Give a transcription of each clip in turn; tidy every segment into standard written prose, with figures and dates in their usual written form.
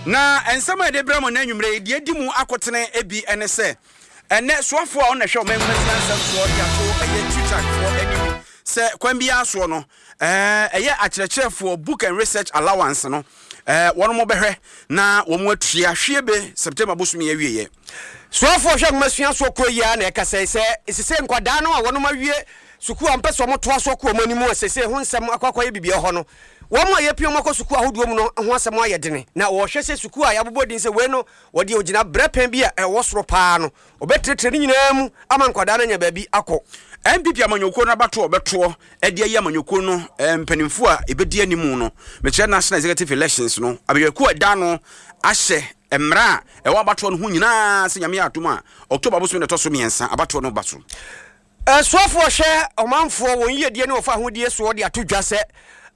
Na nsɛm a yɛde brɛ mo nnɛ anwummerɛ yi, deɛ ɛdi mu akotene bi ne sɛ, ɛnnɛ soafoɔ a ɔno na ɛhwɛ ɔman nwomasua nsɛm soɔ de ato ɛyɛ TUTAG foɔ anim sɛ kwan biara soɔ no, ɛyɛ akyerɛkyerɛfoɔ book and research allowance no, wɔn bɛhwɛ na wɔn atua hwiebe September bosome awieɛ. Soafoɔ hwɛ nwomasua soɔ kuo yi ara na ɛkasa yi sɛ sesei nkwadaa no a wɔnom awie sukuu a wɔpɛ sɛ wɔtoa so kɔ wɔn anim a sesei ho nsɛm akɔ akɔyɛ biribi wɔ hɔ no, wɔn a yɛpia wɔn akɔ sukuu ahodoɔ mu no ho asɛm ayɛ dene na wɔhwɛ sɛ sukuu a yɛabobɔ din sɛ wei no wɔde ogyina berɛ pɛn bi a ɛwɔ soro paa no wɔbɛtrɛtrɛ ne nyinaa mu ama nkwadaa no anya baabi akɔ. NPP amanyɔkuo no abatoɔ a wɔbɛtoɔ de ayi amanyɔkuo no mpanimfoɔ a ɛbɛdi anim no, mekyerɛ National Executive Elections no, abadwakuo a ɛda ano ahyɛ mmara a ɛwɔ abatoɔ no ho nyinaa sɛ Nyame yɛ adom a, October bosome na ɛtɔ so mmiɛnsa abatoɔ no ba so. Asuafoɔ hwɛ ɔmanfoɔ wɔn yiedie ne wɔfa ahodie soɔ de ato dwa sɛ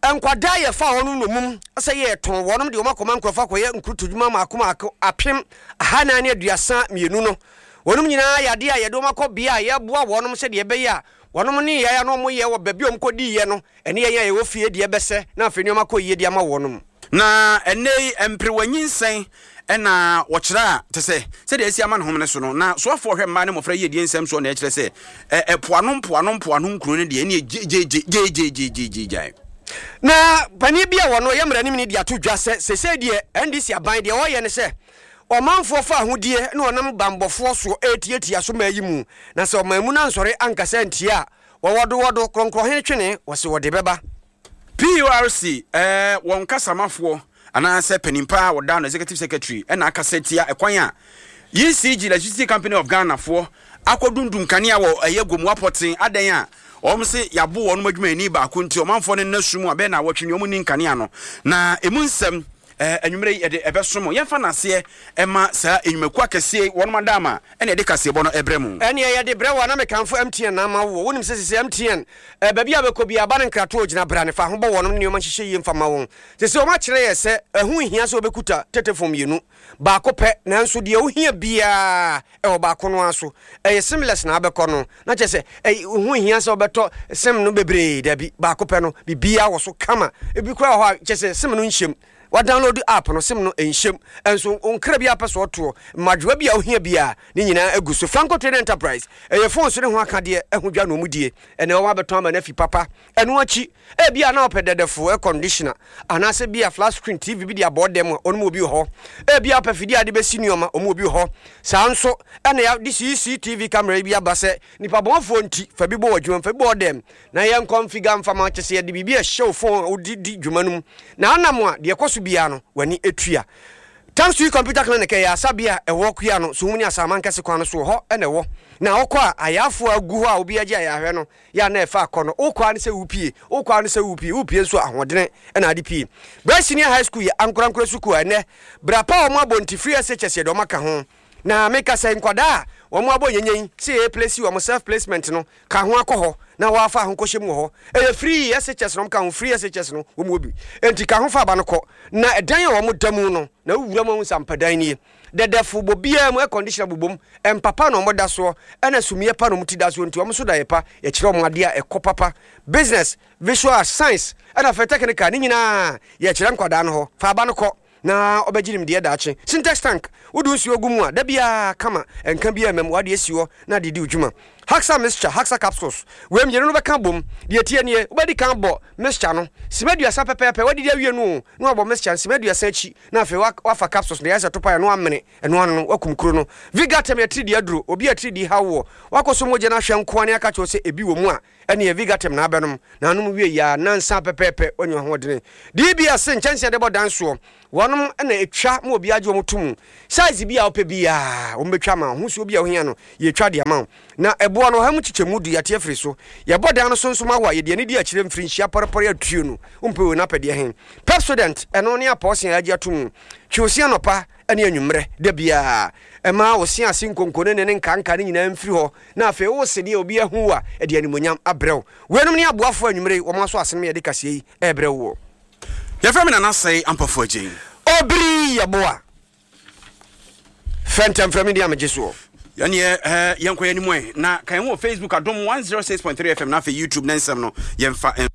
nkwadaa yɛfa wɔnom nnomum sɛ yɛretɔn wɔnom de wɔn akɔma nkurɔfoɔ akɔyɛ nkurutodwuma mmaako mmaako 1432 no wɔnom nyinaa yɛ adeɛ a yɛde wɔn akɔ bea a yɛboa wɔnom sɛdeɛ ɛbɛyɛ a wɔnom nneyɛɛ a na wɔyɛ wɔ baabi a wɔkɔdiiɛ no Ɛne yɛn a yɛwɔ fie deɛ bɛsɛ na afei nneɛma kɔ yie de ama wɔnom. Na ɛnnɛ yi mperewa nyinsɛn na wɔkyerɛ a, te sɛ sɛdeɛ asi ama ne homene so no, na soafoɔ hwɛ mmaa ne mmɔfra yiedie nsɛm soɔ na ɛkyerɛ sɛ ɛ, ɛpoano mpoano mpoano nkuro no deɛ ɛneɛ gyegyeegye gyegyeegyeegyeegyae. Na panin bi a ɔno ɔyɛ mmaranimni de ato dwa sɛ seesei deɛ NDC aban deɛ ɔreyɛ ne sɛ ɔmanfoɔ fa ahodie na ɔnam banbɔfoɔ soɔ retiatia so mmaa yi mu, na sɛ ɔman mu no ansɔre ankasa antia a, Wɔwɔdowɔdo, Krɔnkrɔnhene twene, wɔse wɔde bɛba. PURC, wɔn kasamafoɔ anaasɛ panin pa a wɔda no Executive Secretary na akasa atia ɛkwan a ECG, Electricity Company of Ghana, foɔ akɔdundum kanea wɔ ɛyɛ Gomoa Pɔten adɛn a wɔn se yɛabo wɔn adwumayɛni baako nti ɔmanfoɔ no nna sum a bɛyɛ naawɔtwe ni wɔn nni nkanea no na ɛmu nsɛm anwummerɛ yi yɛde ɛbɛso mo. Yɛmfa nnaseɛ mma saa nnwumakuo akɛseɛ yi wɔnom adaama ɛna yɛde kaseɛbɔ no ɛbrɛ mo. Ɛneɛ yɛde brɛ wo a na mekamfo MTN na ama woɔ. Wonim sɛ sesei MTN eh, baabi a wobɛkɔ biara ba no nkratoɔ gyina brane fa ho bɔ wɔnom ne nneɛma nhyehyɛ yie mfa mma wɔn. Sesei wɔn akyerɛ yɛ sɛ ɛho nhia sɛ wobɛkuta tetefon mmienu, baako pɛ, nanso deɛ wohia biara ɛwɔ baako no ara so. Ɛyɛ simless na abɛkɔ no, na kyerɛ sɛ ɛho nhia sɛ wobɛtɔ sim no bebree, dabi, baako pɛ no, biribiara wɔ so kama. Ebi koraa wɔ hɔ a, kyerɛ sɛ sim no nhyɛ mu. Wa download app no, sim no nhyɛ mu. Nso nkra bi a wopɛ sɛ ɔtoɔ, mmadwoa bi a wohia biara, ne nyinaa agu so. Franco Trading Enterprise, ɛyɛ phone so ne ho akadeɛ ho dwa na wɔn die. Ɛnɛ wɔn abɛtɔn ama no afi papa. Ɛno akyi, ebia na wopɛ dɛdɛfo, air conditioner, anaasɛ bi a flat screen TV bi de abɔ dan mu a, wɔn mu obi wɔ hɔ. Ebia wopɛ fidie a wɔde bɛsi nneɛma, wɔn mu obi wɔ hɔ. Saa nso na yɛde CCTV camera yi bi aba sɛ nnipa bɔnfoɔ nti, fa bi bɔ w'adwuma mu, fa bi bɔ wo dan mu, na yɛnkɔnfiga mfa ma wo. Kyerɛ sɛ yɛde biribi a ɛhyɛ wo phone a wode di dwuma no mu, na anam a, deɛ ɛkɔ so biara no, w'ani tua. Tamsui Computer Clinic yɛ asabea a ɛwɔ Kuano, Suhum ne Asaman Kɛse kwan no so wɔ hɔ na ɛwɔ. Na wokɔ a, ayarefoɔ a agu hɔ a obiara gye ayarehwɛ no, yɛ a na ɛfa akɔ no, wokɔ ara ne sɛ wopue, wokɔ ara ne sɛ wopue, wopue nso a, ahoɔdene na ade pue. Brɛ Senior High School yɛ ankorankora sukuu a ɛnnɛ, bra pa a wɔabɔ nti free SHS yɛde wɔn aka ho. Na meka sɛ nkwadaa a wɔabɔ nyenyen sɛ yɛreplesi wɔn self placement no, ka ho akɔ hɔ na wɔafa ho kɔhyɛ mu wɔ hɔ. Ɛyɛ free SHS na wɔka ho, free SHS no wɔn wɔ bi. Enti ka ho fa aba no kɔ. Na ɛdan a wɔda mu no, na wowura mu ahu sɛ ampa dan nie. Dɛdɛfo bɔ biara mu, air conditioner bobɔ mu, mpa pa na wɔda soɔ, ɛna sumiiɛ pa na wɔn ti da soɔ nti wɔn nso da yɛ pa, yɛkyerɛ wɔn adeɛ a ɛkɔ papa. Business, visual, science, ɛna afei technical ne nyinaa yɛkyerɛ nkwadaa no hɔ. Fa aba no kɔ na ɔbɛgye nimdeɛ daakye. Sintex tank, wode nsuo gu mu a, da biara kama, nka biara mma mu, w'adeɛ si hɔ na de di wo dwuma. Haxa mixture, Haxa capsules, wei mmienu no bɛka abom. Deɛ ɛteɛ nie, wobɛdi kan abɔ mixture no sima aduasa pɛpɛɛpɛ, woadidi awie no o, na wabɔ mixture no sima aduasa akyi, na afei woafa capsules no, deɛ ayɛ sɛ topaeɛ no woamene ɛno ano no, woakum kuro no. Vigatem yɛ atiridii aduro, obi a atiridii haw woɔ, woakɔsɔ mogya no ahwɛ nko ara na yɛaka kyerɛ wo sɛ ebi wɔ mu a, ɛneɛ Vigatem na abɛnom, na anom wie yi ara, nnansa pɛpɛɛpɛ woanya ahoɔdene. DBS nkyɛnse a yɛde bɔ dan soɔ, wɔnom na ɛtwa ma obiara gye wɔn to mu. Size bi a wopɛ biara, wɔn bɛtwa ama wo. Ahosuo bi a wohia no, yɛtwa de ama wo. Na ɛboɔ no, ɔha mu kyekyɛmu du, yɛate afiri so. Yɛbɔ dan no so nso ma wo a, yɛde ani di akyire mfirinhyia pɔrepɔre atuo no. Wompɛ wei na apɛ deɛ he? Pepsodent, ɛno ne apɔɔse a yɛagye ato mu. Twe wo se anɔpa ne anwummerɛ, da biara. Ɛma wo se ase nkonko ne ne ne nkanka no nyinaa mfiri hɔ, na afei wo se deɛ obi ahu wo a, ɛde animuonyam abrɛ wo. Weinom ne aboafoɔ a anwummerɛ yi wɔn aso asene ma yɛde kaseɛ yi rebrɛ woɔ. Yɛfrɛ me Nana Sɛe Ampofo Agyei. Obiri Yeboah. Frɛ ntɛm frɛ me din a megye soɔ. Yɛneɛ eh, yɛnkɔ yɛn anim ɛ na ka yɛn ho wɔ Facebook Adom 106.3 FM na afei YouTube ne nsɛm no yɛmfa.